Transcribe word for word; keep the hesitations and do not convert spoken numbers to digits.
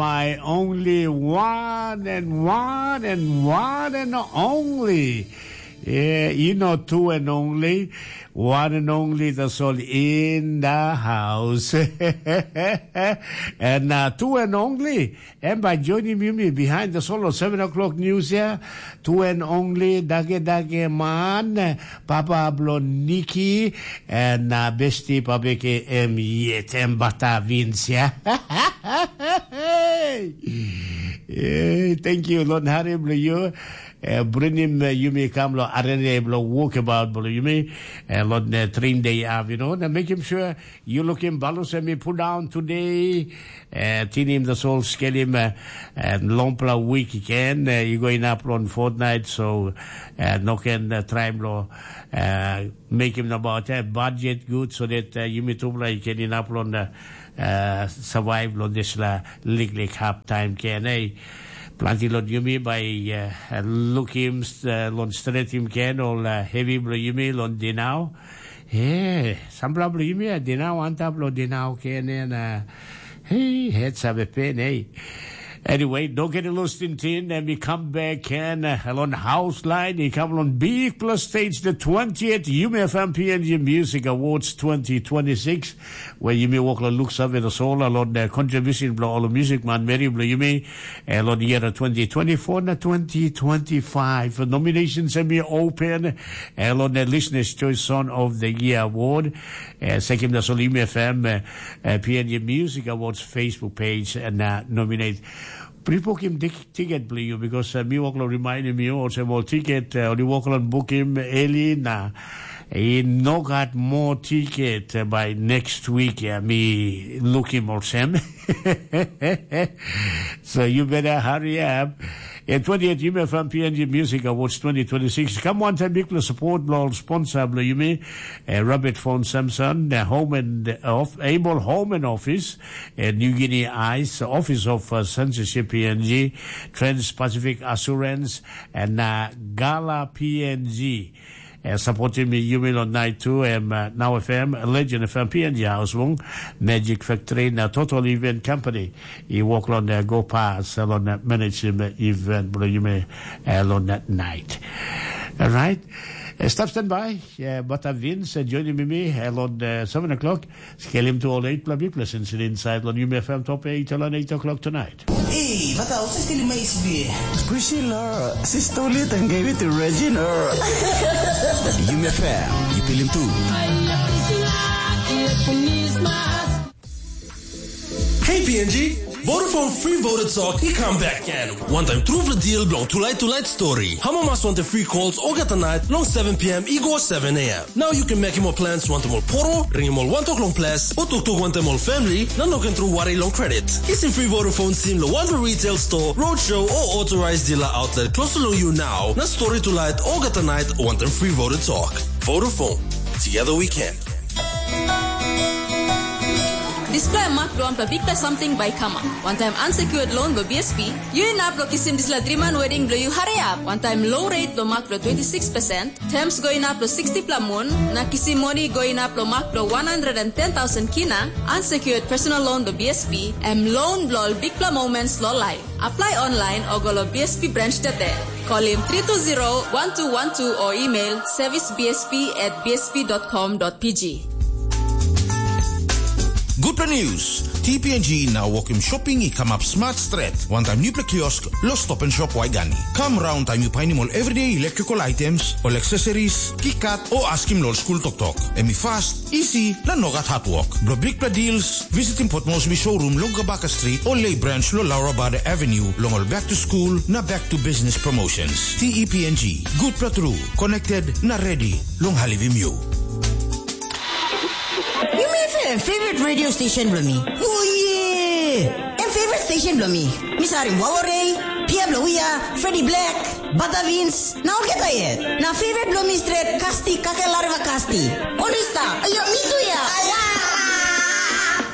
My only one and one and one and only. Yeah, you know, two and only, one and only, that's all in the house. And uh, two and only, and by joining me behind the solo seven o'clock news here, two and only, Dage Dage Man, Papa Blo Niki, and uh, Besti Pabeke M yet, and Bata Vince, yeah. Hey, thank you, Lord Harry, blo you. Uh, bring him, uh, yumi kam lo arene blo walk about blo yumi. Uh, Lord uh, train day have, you know, and make him sure you look him balus and me put down today. Uh, tin him the soul scale him uh, and lompla week again. Uh, you going up on fortnight, so uh, no can uh, try blo uh, make him about uh, budget good so that uh, yumi tupla you can in up on the uh, survive lo dispela liklik hap taim ken ei. Planti long yumi bai uh, lukim uh, long stretim ken ol uh, hevi bilong yumi long dinau. He, sampela bilong yumi a dinau antap long dinau ken en uh, hei, het save pen ei. Anyway, don't get lost in tin and we come back and uh, on house line. He come on big plus stage the twentieth Yumi F M P N G Music Awards twenty twenty-six. Where you may walk la looks of it, a soul, a lot the contribution blo all music man, Mary blo you may, a lot year twenty twenty-four na twenty twenty-five. Nominations and be open, a lot the listeners choice son of the year award. Uh, second the Solim F M uh, uh, P N G Music Awards Facebook page and uh, nominate Pripokim tiket blo you because uh, mi wok lo remind mi olsem ol tiket uh, oli wok lo bukim eli na i no gat more tiket uh, by next week uh, mi looking olsem. So you better hurry up. At twentieth Yuma from P N G Music Awards twenty twenty-six. Come on, time big support blo sponsor blo you me. Uh, Robert Fon Samson, the home and of Able Home and Office. New Guinea Ice, Office of uh, Censorship P N G, Trans-Pacific Assurance, and uh, Gala P N G. Uh, supporting me, Yumi on night two, um, uh, Now F M, Legend F M, P N G House Wong, Magic Factory, na Total Event Company. I work on the Go Pass, on the management event, bro, you may, uh, on that night. All right. Uh, stop standby. Yeah, but I've been uh, joining me, me, uh, on uh, seven o'clock. Skelim tu ol eight pla big lessons in inside lon Yumi F M top eight lon eight o'clock tonight. Ei, wat hou se stil mais weer? Priscilla, sister lit and gave it to Regina. Yumi F M, you feel him too. Hey P N G, Vodafone free voter talk i come back again. One time through the deal belong tonight tonight story. Hamo mas want the free calls all get the night long seven p.m. i go seven a.m. Now you can make more plans want more poro, ring more one o'clock long plus, or tuk tuk want more family, na no can through worry long credit. Kisim free Vodafone sim lo one for retail store, roadshow or authorized dealer outlet close to you now. Na story to light all get the night want them free voter talk. Vodafone. Together we can. Dispela mak bilong wanpela bikpela samting bai i kamap. Wantaim unsecured loan bilong B S P, yu inap long kisim dispela driman wedding bilong yu hariap. Wantaim low rate bilong mak bilong twenty six percent, terms go inap long sixty pela mun, na kisim moni go inap long mak bilong one hundred and ten thousand kina, unsecured personal loan bilong B S P, em loan bilong ol bikpela moments long life. Apply online o go long B S P branch today. Call him three two zero one two one two or email service B S P at B S P dot com dot P G. Gutpela news. T P N G now welcome shopping i come up smart stret. One time new kiosk, lo stop and shop Waigani. Come round time you find him all everyday electrical items, all accessories, kikat, or ask him lo school tok tok. Emi fast, easy, na no gat hard work. Blo big deals, visit him Port Moresby showroom long Gabaka Street, or lay branch lo Laura Bada Avenue, long all back to school, na back to business promotions. T E P N G, good pla true, connected, na ready, long halivim you. Yumi F M, favorite radio station bilong mi. Oh yeah! Em favorite station bilong mi. Mi sarim Wawarei, Pia bilong Wia, Freddy Black, Bata Vince, na olgeta yet. Na favorite bilong mi stret, Kasti, Kake Lareva Kasti. Ol i stap. Ayo, mi tu ya. Aya.